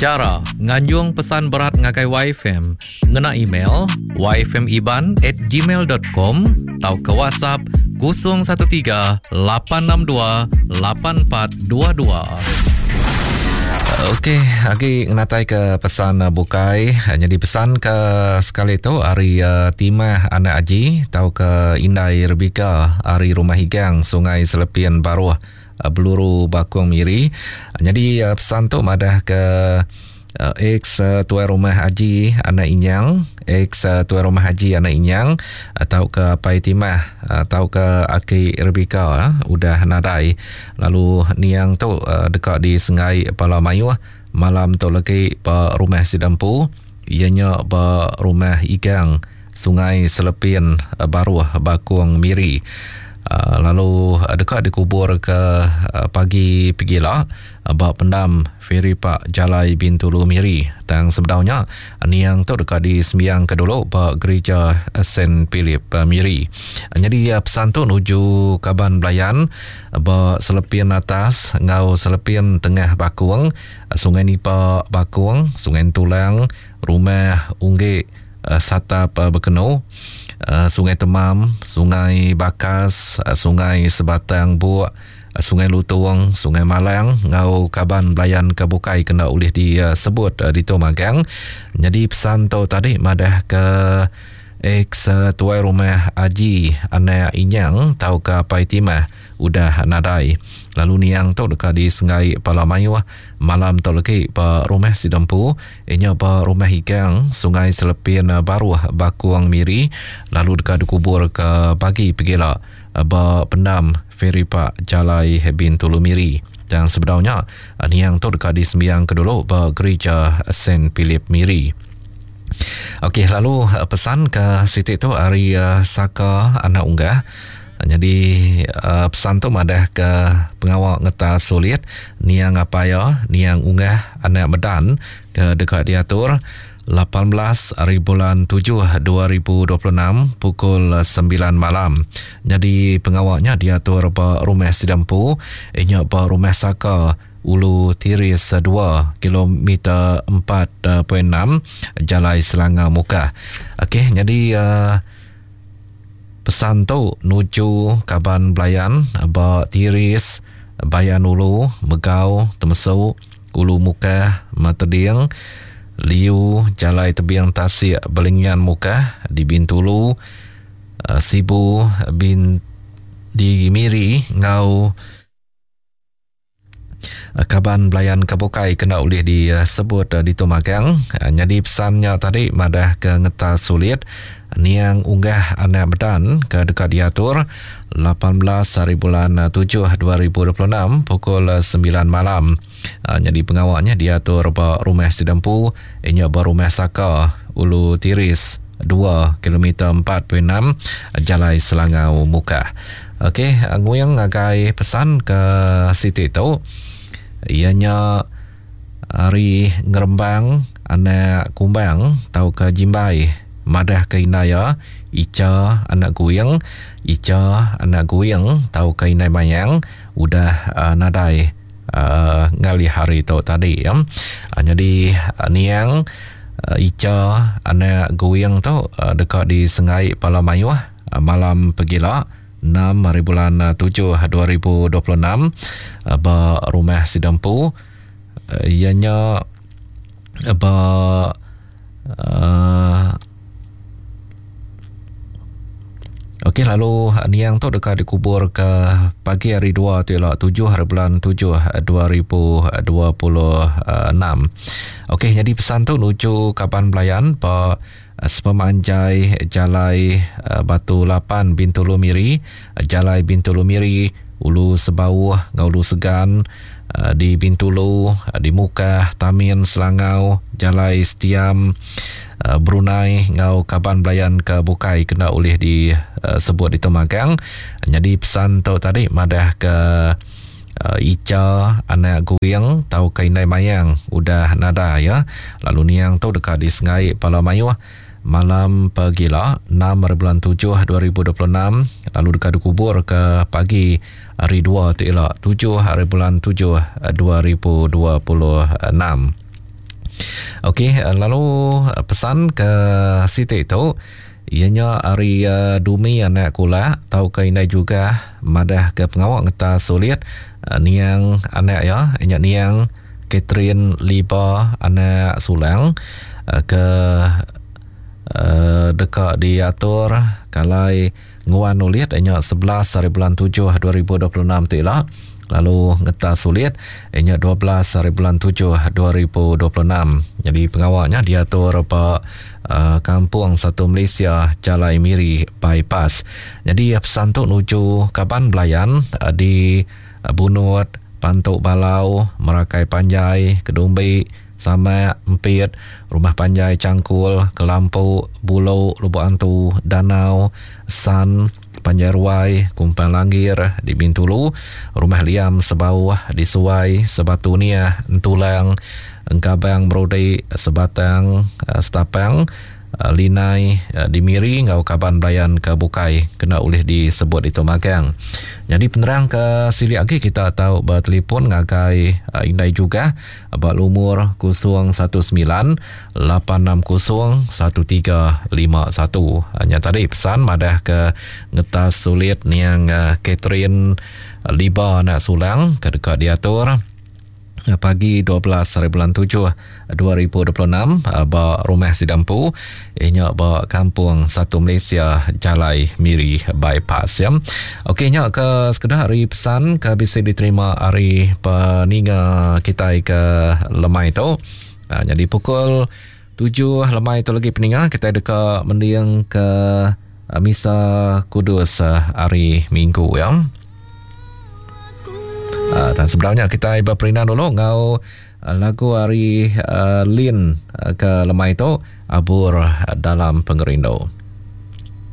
Chara nganjung pesan berat ngagai YFM ngena email yfmiban at gmail dot com tauka WhatsApp 013 862 8422. Okey, agi ngenatai ke pesan bukai. Nyadi pesan ke sekali tu ari uh, Timah Anak Aji tauka Indai Rebika ari Rumah Igang Sungai Selepin Baruh Beluru Bakung Miri. Nyadi uh, pesan tu madah ke Ex tuai rumah Aji anak Inyang, ex tuai rumah Aji anak Inyang tauka Apai Timah tauka Aki Rebika udah nadai lalu niang tu deka disenggai bala mayuh malam tu legi ba rumah sida empu iya nya ba rumah Igang Sungai Selepin Baruh Bakong Miri lalu deka dikuburka pagi pegila ba pendam Feri Pak Jalai Bintulu Miri. Tang sebedau nya niang tu deka disembiangka dulu ba Gerija Saint Philip Miri. Nyadi pesan tu nuju kaban belayan ba Selepin Atas enggau Selepin Tengah Bakong, Sungai Nipa Bakong, Sungai Entulang, Rumah Unggik, Satap Bekenu, Sungai Temam, Sungai Bakas, Sungai Sebatang Buk, Sungai Lutong, Sungai Malang enggau kaban belayan ke bukai kena ulih disebut ditu magang. Nyadi pesan tu tadi madah ke ex tuai rumah Aji anak Inyang tauka Apai Timah udah nadai. Lalu niang tu deka disenggai pala mayuh malam tu legi ba rumah sida empu inya ba Rumah Igang Sungai Selepin Baruh Bakong Miri lalu deka dikubur ke pagi pegila ba pendam Feri Pak Jalai Bintulu Miri. Tang sebedau nya niang tu deka disembiang ke dulu ba Gerija Saint Philip Miri. Okey lalu pesan ke siti tu ari Saka anak Unggah. Nyadi pesan tu madah ke pengawa ngetas sulit niang apai iya niang Unggah anak Medan ke deka diatur 18 hari bulan 7 2026 pukul 9 malam. Nyadi pengawa nya diatur ba rumah sida empu inya ba rumah Saka Ulu Tiris 2 kilometer 4.6 Jalai Selangau Mukah. Okey nyadi uh, pesan tu nuju kaban belayan ba Tiris, Bayan Ulu, Megau, Temesu, Ulu Mukah, Mateding, Liu, Jalai Tebing Tasik Belingian Mukah di Bintulu, uh, Sibu, Bin di Miri enggau Kaban belayan ke bukai kena ulih disebut ditu magang. Nyadi pesan nya tadi madah ke ngetas sulit niang unggah anak Medan ke deka diatur 18 hari bulan 7 2026 pukul 9 malam. Nyadi pengawa nya diatur ba Rumah Sidempu inya ba Rumah Saka Ulu Tiris 2 kilometer 4.6 Jalai Selangau Mukah. Okey, nguing ngagai pesan ke siti tu iya nya ari ngerembang anak kumbang tauka jimbai madah ke indai iya Icha anak Guing, Icha anak Guing tauka indai Mayang udah uh, nadai uh, ngalih hari tu tadi ya. Uh, nyadi uh, niang uh, Icha anak Guing tu uh, deka disengai pala mayuh Malam pegila, 6 hari bulan 7 2026 ba rumah sida empu iya nya ba uh, Okey lalu niang tu deka dikubur ke pagi hari 2 tu ila 7 hari bulan 7 2026. Okey jadi pesan tu nuju kaban belayan ba Sepemanjai Jalai Batu Lapan Bintulu Miri, Jalai Bintulu Miri, Ulu Sebauh enggau Ulu Segan di Bintulu, di Mukah, Tamin, Selangau, Jalai Setiam, Brunei enggau kaban belayan ke bukai kena ulih disebut ditu magang. Nyadi pesan tu tadi madah ke Icha anak Guing tauka indai Mayang udah nadai iya lalu niang tu deka disengai pala mayuh malam pegila 6 hari bulan 7 2026 lalu deka dikubur ke pagi hari 2 tu ila 7 hari bulan 7 2026. Okey, lalu pesan ke siti tu iya nya ari Dumi anak Kulak tauka indai Jugah madah ke pengawa ngetas sulit niang anak iya nya niang Catherine Liba anak Sulang ke deka diatur kalai Nguan ulit nya 11 hari bulan 7 2026 tu ila lalu ngetas ulit nya 12 hari bulan 7 2026. Jadi pengawa nya diatur ba uh, Kampung Satu Malaysia Jalai Miri Bypass. Jadi pesan tu nuju kaban belayan uh, di Bunut, Pantu Balau, Merakai Panjai, Kedumbi, Samak, Empit, Rumah Panjai Changkul, Kelampu, Bulo, Lubok Antu, Danau, San, Panjai Ruai, Kumpang Langgir di Bintulu, Rumah Liam Sebauh di Suai, Sebatu Niah, Entulang, Engkabang Merudi, Sebatang, Setapang, Linai di Miri enggau kaban belayan ke bukai kena ulih disebut ditu magang. Nyadi penerang ke silik agi kita tau betelefon ngagai Indai Jugah ba lumur 019 860 1351. Nya tadi pesan madah ke ngetas sulit niang Catherine Liba anak Sulang ke deka diatur pagi 12 hari bulan 7 2026 ba rumah sida empu iya nya ba Kampung Satu Malaysia Jalai Miri Bypass ya. Okey nya ke sekeda hari pesan ke bisi diterima ari peninga kitai ke lemai tu. Ha, jadi pukul 7 lemai tu lagi peninga kitai deka mending ke Misa Kudus hari Minggu ya. Dan sebelumnya kita berperindang dulu ngau lagu hari Lin ke lemai tu Abur Dalam Pengerindu.